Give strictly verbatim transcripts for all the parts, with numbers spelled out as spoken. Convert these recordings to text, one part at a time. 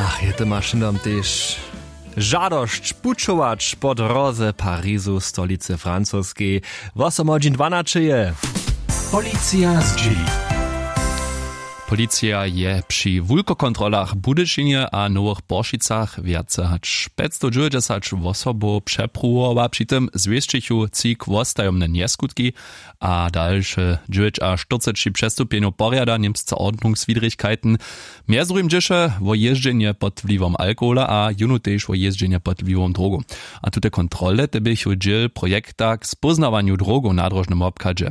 Ach, je to mašinom tež žadosć pućować po dróze Parizu, stolicy francoskej. Wosomhodźin dwanaće je. Policija zdźěli. Policija je při wulkokontrolach w Budyšinje a Nowych Poršicach wjace hač pjećstowdźewjećdźesać wosobow přepruwowa. Při tym zwěsćichu tři k wostajomne njeskutki a dalše dźewjećaštyrceći přestupjenjow porjada Němsce Ordnungswidrigkeiten. Mjez druhim dźěše wo jězdźenje pod wliwom alkohola a jónu tež wo jězdźenje pod wliwom drogow. A tute kontrole te běchu dźěl projekta k spóznawanju drogow na dróžnym wobchadźe.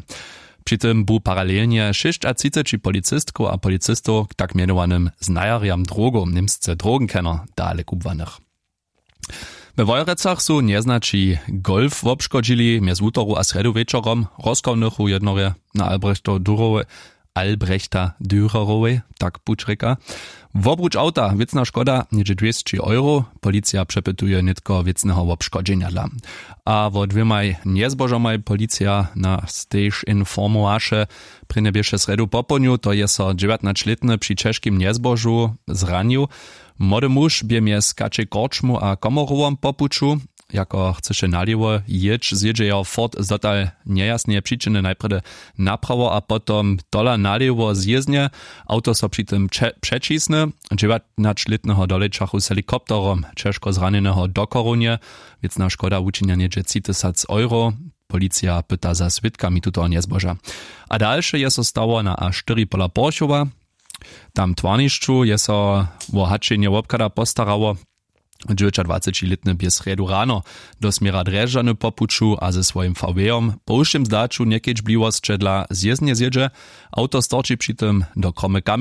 Při tym bu paralelnje šěsćatřiceći policistkow a policistow k tak mjenowanym znajerjam drogow, němsce Drogenkenner, dale kubłanych. We Wojerecach su njeznaći Golf wobškodźili mjez wutoru a srjedu wječorom. Rozkawnychu jednorje na Albrechto Durowej, Albrechta Dürerowej, tak puć rěka. Wobruč awta, wěcna škoda něhdźe dwěsći euro. Policija přepytuje nětko wěcneho wobškodźenja dla. A wo dwěmaj njezbožomaj policija nas tež informowaše. Prěnje běše srjedu popołdnju, to je so dźewjatnaćlětny při ćežkim njezbožu zranił. Młody muž bě mjez kačej korčmu a komorowom po puću, jako chcyše nalěwo jěć, zjědźe jeho fort z dotal njejasneje přičiny najprjedy naprawo a potom tola nalěwo zjěznje. Awto so při tym pře- přećisny. Dźewjatnaćlětneho dolečachu z helikopterom ćežko zranjeneho do chorownje. Wěcna škoda wučinja něhdźe tři tysac euro. Policija pyta za swědkami tutoho njezboža. A dalše je so stało na a štyri pola porchowa. Tam w twarnišću je so wo haćenje wobchada postarało. Dźewjećadwacećilětny bě srjedu rano do směra drježdźany po puću a ze swojim vw-jom po wšěm zdaću njekedźbliwosće dla zjěznje zjědźe. Awto storči při tym do kromy.